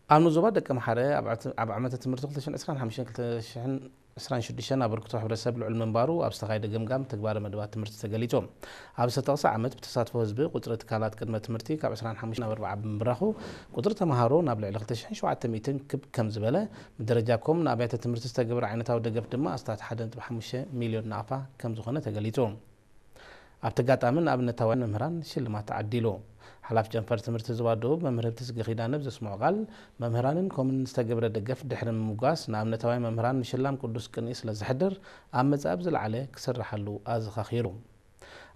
ኣብ ንዞባ ደቂ ኣምሓረ ኣብ ዕት-፣ ኣብ ዓመተ ትምህርቲ ክልተ ሽሕን ዕስራን ሓሙሽተን ክልተ ሽሕን ዕስራን ሽዱሽተን ኣበርክቶ ሕብረተሰብ ልዑል ምንባሩ ኣብ ዝተኻየደ ገምጋም ተግባረ መደባት ትምህርቲ ተገሊጹ። ኣብ ዝተጠቕሰ ዓመት ብተሳትፎ ህዝቢ ቁጽሪ ትካላት ቅድመ ትምህርቲ ካብ ዕስራን ሓሙሽተን ናብ ኣርብዓ ብምብራኹ ቁጽሪ ተምሃሮ ናብ ልዕሊ ክልተ ሽሕን ሸውዓተ ሚእትን ክብ ከም ዝበለ፣ ብደረጃ ኮም ንኣብያተ ትምህርቲ ዝተገብረ ዓይነታዊ ደገፍ ድማ ኣስታት ሓደ ነጥቢ ሓሙሽተ ሚልዮን ናቕፋ ከም ዝኾነ ተገሊጹ። ኣብቲ ኣጋጣሚ ንኣብነታውያን መምህራን ሽልማት ተዓዲሉ። ሓላፊ ጨንፈር ትምህርቲ ዞባ ደቡብ መምህር ህብትዝጊ ኪዳነ ብዘስምዖ ቃል፣ መምህራንን ኮምን ዝተገብረ ደገፍ ድሕሪ ምምጓስ፣ ንኣብነታውያን መምህራን ምሽላም ቅዱስ ቅንኢ ስለ ዘሕድር፣ ኣብ መጻኢ ብዝለዓለ ክስርሓሉ ኣዘኻኺሩ።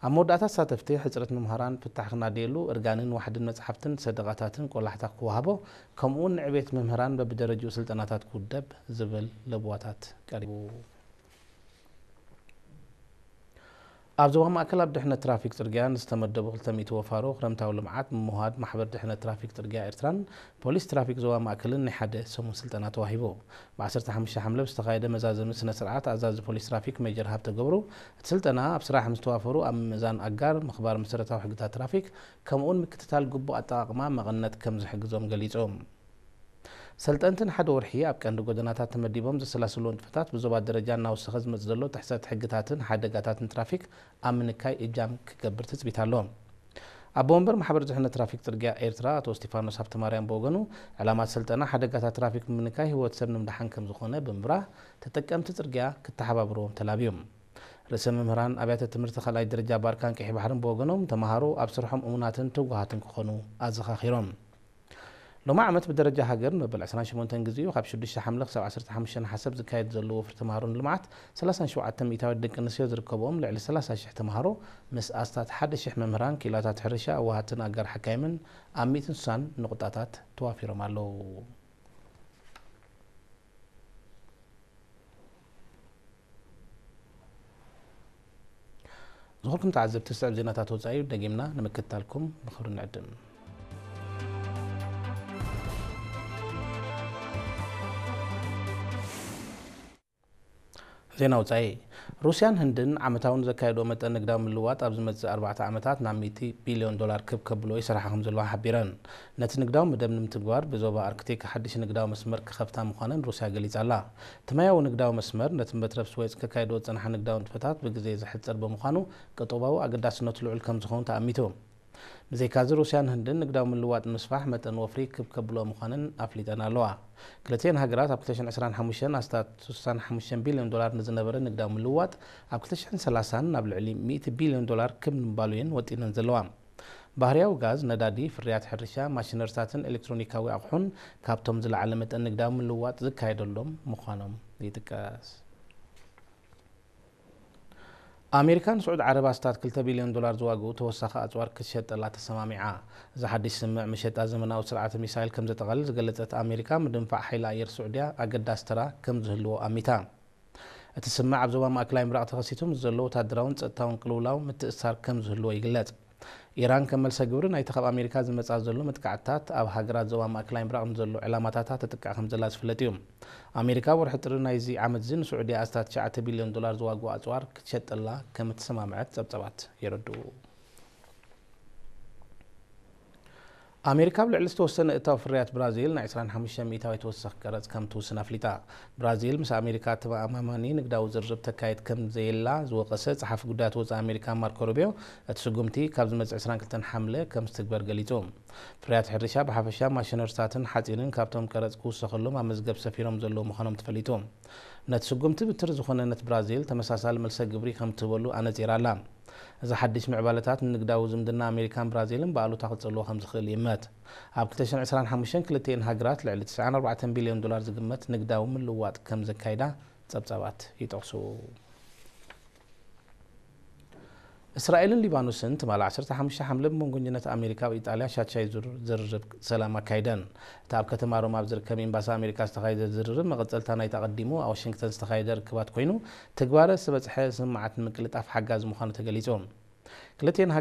ኣብ መወዳእታ ተሳተፍቲ፣ ሕጽረት መምህራን ፍታሕ ክናደየሉ፣ እርጋንን ዋሕድን መጽሓፍትን ሰደቓታትን ቆላሕታ ክወሃቦ፣ ከምኡውን ንዕቤት መምህራን በብደረጅኡ ስልጠናታት ክውደብ ዝብል ለበዋታት ቀሪቡ። ኣብ ዞባ ማእከል ኣብ ድሕነት ትራፊክ ጽርግያ ንዝተመደቡ ክልተ ሚእቲ ወፋሮ ክረምታዊ ልምዓት ምምሃድ ማሕበር ድሕነት ትራፊክ ጽርግያ ኤርትራን ፖሊስ ትራፊክ ዞባ ማእከልን ናይ ሓደ ሰሙን ስልጠና ተዋሂቡ። ብ ዓሰርተ ሓሙሽተ ሓምለ ብዝተኻየደ መዛዘሚ ስነ ስርዓት ኣዛዚ ፖሊስ ትራፊክ ሜጀር ሃብተ ገብሩ፣ እቲ ስልጠና ኣብ ስራሕ ምስ ተዋፈሩ ኣብ ምምእዛን ኣጋር፣ ምኽባር መሰረታዊ ሕግታት ትራፊክ ከምኡውን ምክትታል ግቡእ ኣጠቓቕማ መቐነት ከም ዝሕግዞም ገሊጹ። ሰልጠንቲ ንሓደ ወርሒ ኣብ ቀንዲ ጎደናታት ተመዲቦም ዘሰላስልዎ ንጥፈታት ብዞባ ደረጃ እናወሰኸ ዝመጽእ ዘሎ ጥሕሰት ሕግታትን ሓደጋታትን ትራፊክ ኣብ ምንካይ እጃም ክገብር ትጽቢት ኣሎ። ኣቦ ወንበር ማሕበር ድሕነት ትራፊክ ጽርግያ ኤርትራ ኣቶ እስቲፋኖስ ሃብተማርያም ብወገኑ፣ ዕላማ እቲ ሰልጠና ሓደጋታት ትራፊክ ብምንካይ ህይወት ሰብ ንምድሓን ከም ዝኾነ ብምብራህ፣ ተጠቀምቲ ጽርግያ ክተሓባብርዎም ተላብዮም። ርእሰ መምህራን ኣብያተ ትምህርቲ ካልኣይ ደረጃ ባርካን ቀይሕ ባሕርን ብወገኖም፣ ተምሃሮ ኣብ ስርሖም እሙናትን ትጉሃትን ክኾኑ ኣዘኻኺሮም። ሎሚ ዓመት ብደረጃ ሃገር ንመበል ዕስራን ሸሞንተን ግዜኡ ካብ ሽዱሽተ ሓምለ ክሳብ ዓሰርተ ሓሙሽተ ነሓሰ ኣብ ዝካየድ ዘሎ ወፍሪ ተምሃሮ ንልምዓት፣ ሰላሳን ሸውዓተን ሚእታዊት ደቂ ኣንስትዮ ዝርከብኦም ልዕሊ ሰላሳ ሽሕ ተምሃሮ ምስ ኣስታት ሓደ ሽሕ መምህራን፣ ክኢላታት ሕርሻ፣ ኣዋሃድትን ኣጋር ሓካይምን ኣብ ሚእትን ስሳን ንቑጣታት ተዋፊሮም ኣለዉ። ዝኾንኩም ተዓዘብቲ፣ ዝስዕብ ዜናታት ወጻኢ ደጊምና ንምክትታልኩም ብኽብሪ ንዕድም። ዜና ወጻኢ። ሩስያን ህንድን ዓመታዊ ንዘካየድኦ መጠን ንግዳዊ ምልውዋጥ ኣብ ዝመጽእ ኣርባዕተ ዓመታት ናብ ሚእቲ ቢልዮን ዶላር ክብ ከብልዎ ይሰርሓ ከም ዘለዋ ሓቢረን። ነቲ ንግዳዊ መደብ ንምትግባር ብዞባ ኣርክቲክ ሓድሽ ንግዳዊ መስመር ክኸፍታ ምዃነን ሩስያ ገሊጻ ኣላ። እቲ ማያዊ ንግዳዊ መስመር ነቲ መትረብ ስዌጽ ከካይድኦ ዝጸንሓ ንግዳዊ ንጥፈታት ብግዜ ዘሕጽር ብምዃኑ፣ ቀጠባዊ ኣገዳስነቱ ልዑል ከም ዝኸውን ተኣሚቱ። ብዘይካዚ፣ ሩስያን ህንድን ንግዳዊ ምልውዋጥ ንምስፋሕ መጠን ወፍሪ ክብ ከብልኦ ምዃነን ኣፍሊጠን ኣለዋ። ክልቲኤን ሃገራት ኣብ ክልተ ሽሕን ዕስራን ሓሙሽተን ኣስታት ስሳን ሓሙሽተን ቢልዮን ዶላር ንዝነበረ ንግዳዊ ምልውዋጥ፣ ኣብ ክልተ ሽሕን ሰላሳን ናብ ልዕሊ ሚእቲ ቢልዮን ዶላር ክብ ንምባሉ እየን ወጢነን ዘለዋ። ባህርያዊ ጋዝ፣ ነዳዲ፣ ፍርያት ሕርሻ፣ ማሽነሪታትን ኤሌክትሮኒካዊ ኣቑሑን ካብቶም ዝለዓለ መጠን ንግዳዊ ምልውዋጥ ዝካየደሎም ምዃኖም ይጥቀስ። ኣሜሪካ ንስዑድ ዓረብ ኣስታት ክልተ ቢልዮን ዶላር ዝዋግኡ ተወሳኺ ኣጽዋር ክትሸጠላ ተሰማሚዓ። እዚ ሓድሽ ስምምዕ መሸጣ ዘመናዊ ስርዓተ ሚሳይል ከም ዘጠቓልል ዝገለጸት ኣሜሪካ፣ ምድንፋዕ ሓይሊ ኣየር ስዑድያ ኣገዳሲ ተራ ከም ዝህልዎ ኣሚታ። እቲ ስምምዕ ኣብ ዞባ ማእከላይ ምብራቕ ተኸሲቱ ምስ ዘሎ ወታደራውን ጸጥታውን ቅልውላው ምትእስሳር ከም ዝህልዎ ይግለጽ። ኢራን ከም መልሰ ግብሪ ናይቲ ካብ ኣሜሪካ ዝመጻ ዘሎ መጥቃዕትታት፣ ኣብ ሃገራት ዞባ ማእከላይ ምብራቕ ንዘሎ ዕላማታታ ተጥቅዕ ከም ዘላ ዝፍለጥ እዩ። ኣሜሪካ ወርሒ ጥሪ ናይዚ ዓመት እዚ ንስዑድያ ኣስታት ትሽዓተ ቢልዮን ዶላር ዝዋግኡ ኣጽዋር ክትሸጠላ ከም እተሰማምዐት ጸብጸባት የረድኡ። ኣሜሪካ ኣብ ልዕሊ ዝተወሰነ እታው ፍርያት ብራዚል ናይ ዕስራን ሓሙሽተን ሚእታዊት ተወሳኺ ቀረጽ ከም ትውስን ኣፍሊጣ። ብራዚል ምስ ኣሜሪካ ተኣማማኒ ንግዳዊ ዝርርብ ተካይድ ከም ዘየላ ዝወቀሰ ጸሓፊ ጉዳያት ወጻኢ ኣሜሪካ ማርኮ ሩቢዮ፣ እቲ ስጉምቲ ካብ ዝመጽእ ዕስራን ክልተን ሓምለ ከም ዝትግበር ገሊጹ። ፍርያት ሕርሻ ብሓፈሻ፣ ማሽነሪታትን ሓጺንን ካብቶም ቀረጽ ክውሰኸሎም ኣብ መዝገብ ሰፊሮም ዘለዉ ምዃኖም ተፈሊጡ። ነቲ ስጉምቲ ብትሪ ዝኾነ፣ ነቲ ብራዚል ተመሳሳሊ መልሰ ግብሪ ከም ትህበሉ ኣነጺራ ኣላ። እዚ ሓድሽ ምዕባለታት ንንግዳዊ ዝምድና ኣሜሪካን ብራዚልን ብኣሉታ ክጸልዎ ከም ዝኽእል ይእመት። ኣብ ክልተ ሽሕን ዕስራን ሓሙሽተን ክልቲኤን ሃገራት ልዕሊ ትስዓን ኣርባዕተን ቢልዮን ዶላር ዝግመት ንግዳዊ ምልውዋጥ ከም ዘካይዳ ጸብጻባት ይጠቕሱ። እስራኤልን ሊባኖስን ትማሊ ዓሰርተ ሓሙሽተ ሓምለ ብመንጎኝነት ኣሜሪካ ኣብ ኢጣልያ ሻድሻይ ዙር ዝርርብ ሰላም ኣካይደን። እቲ ኣብ ከተማ ሮማ ኣብ ዝርከብ ኤምባሲ ኣሜሪካ ዝተኻየደ ዝርርብ መቐጸልታ ናይቲ ኣቐዲሙ ኣብ ዋሽንግተን ዝተኻየደ ርክባት ኮይኑ፣ ትግባረ ዝተበጽሐ ስምምዓት ንምቅልጣፍ ሓጋዚ ምዃኑ ተገሊጹ። ክልቲኤን